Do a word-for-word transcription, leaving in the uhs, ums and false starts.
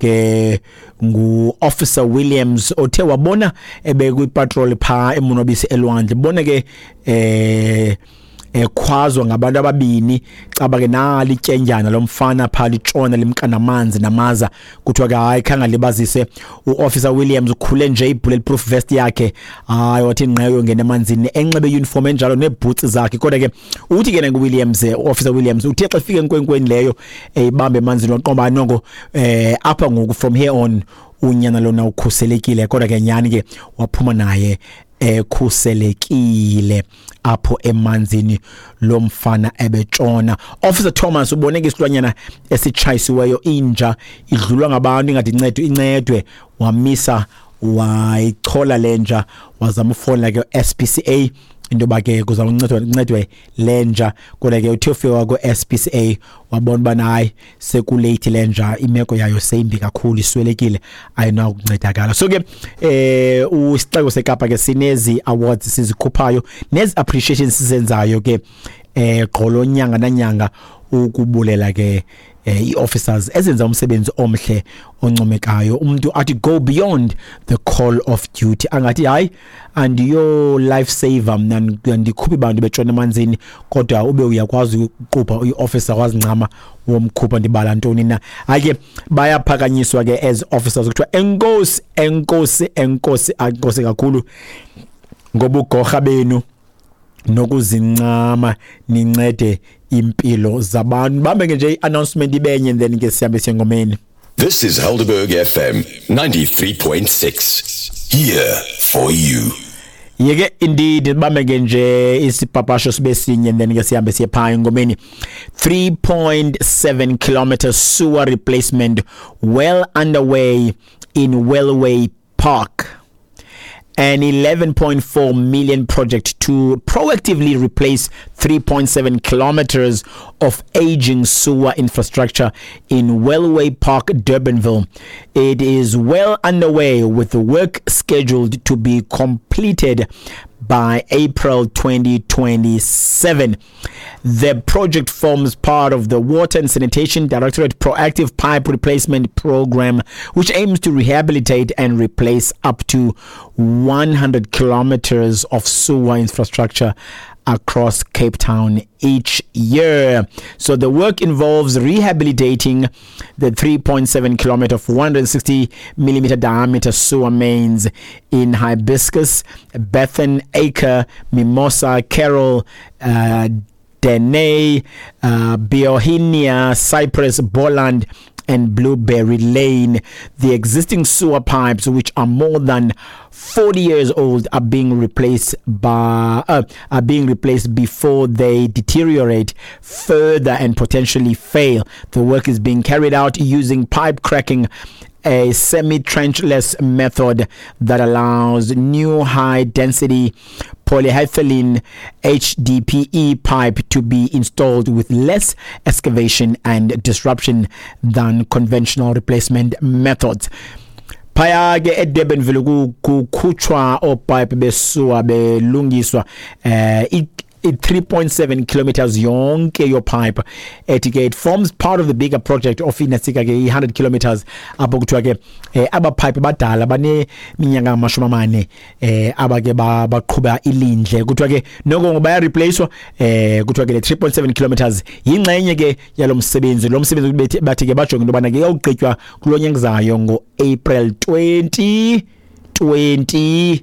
Ke ngu-Officer Williams othe wabona ebekwi-patrol phaa eMonwabisi elwandle, bona ke eh ekhwazwa ngabantu ababini, caba ke nali ityendyana lomfana phaa litshona limka namanzi namaza. Kuthiwa ke hayi, khange libazise u-Officer Williams, ukhule nje i-bulletproof vest yakhe, hayi, wathi ngqeyo ngena emanzini enxibe uniform enjalo neebhutsi zakhe. Kodwa ke uthi ke nangu-Williams, u-Officer Williams uthe xa efika enkwenkweni leyo eyibambe emanzini, waqomba noko eh apha ngoku, from here on, unyana lona ukhuselekile. Kodwa ke nyani ke waphuma naye ekhuselekile apho emanzini lo mfana ebetshona. Officer Thomas ubone ke isilwanyana esitshayisiweyo, inja, idlulwa ngabantu, ingathi incedwe, incedwe, wamisa wayichola lenja, wazama ufowunela ke S P C A into yoba ke kuzawuncedwa, incedwe lenja. Kodwa ke uthe ufika ku-S P C A wabona ubana hayi, seku-late, lenja imeko yayo seyimbi kakhulu, iswelekile, ayinakuncedakala. So ke eh usixeko seKapa ke sinezi awards sizikhuphayo nezi appreciations sizenzayo ke eh gqolo nyanga nanyanga ukubulela ke eh, ii-officers ezenza umsebenzi omhle oncomekayo, umuntu athi go beyond the call of duty, angathi hayi, andiyo life saver mna, ndikhupha abantu betshona emanzini, kodwa ube uyakwazi ukuqupha, uyi-officer, wazincama womkhupha. Ndibala ntoni na? Hayi ke, bayaphakanyiswa ke as officers. Kuthiwa enkosi, enkosi, enkosi, enkosi kakhulu ngobugorha benu nokuzincama nincede impilo zabantu. Bambe ke nje i-announcement ibenye, then ke sihambe siye ngomeni. This is Helderberg F M ninety-three point six. Here for you. Yeke indeed, bambe ke nje isipapasho sibe sinye, then ke sihambe siye phaa engomeni. three point seven kilometer sewer replacement well underway in Wellway Park. An eleven point four million project to proactively replace three point seven kilometers of aging sewer infrastructure in Wellway Park, Durbanville. It is well underway, with the work scheduled to be completed by April twenty twenty-seven. The project forms part of the Water and Sanitation Directorate Proactive Pipe Replacement Program, which aims to rehabilitate and replace up to one hundred kilometers of sewer infrastructure across Cape Town each year. So the work involves rehabilitating the three point seven kilometer of one hundred sixty millimeter diameter sewer mains in Hibiscus, Bethan Acre, Mimosa, Carroll, uh, Dene, uh, Bauhinia, Cypress, Boland, and Blueberry Lane. The existing sewer pipes, which are more than forty years old, are being replaced by uh, are being replaced before they deteriorate further and potentially fail. The work is being carried out using pipe cracking, a semi-trenchless method that allows new high-density polyethylene H D P E pipe to be installed with less excavation and disruption than conventional replacement methods. Phaya ke eDurbanville kukhutshwa oopipe be-sewer, belungiswa eh i three point seven kilometers yonke yo-pipe, ethi ke it forms part of the bigger project of inasika ke i-one hundred kilometers, apho kuthiwa ke eh, aba pipe badala baneminyaka amashumi amane eh aba ke baqhuba ilindle, kuthiwa ke noko ngoba baya-replacewa. eh kuthiwa ke le three point seven kilometers yingxenye ke yalo msebenzi. Lo msebenzi bathi ke bajonge into yobana ke iyawugqitywa kulo nyaka zayo ngo-April twenty twenty-seven.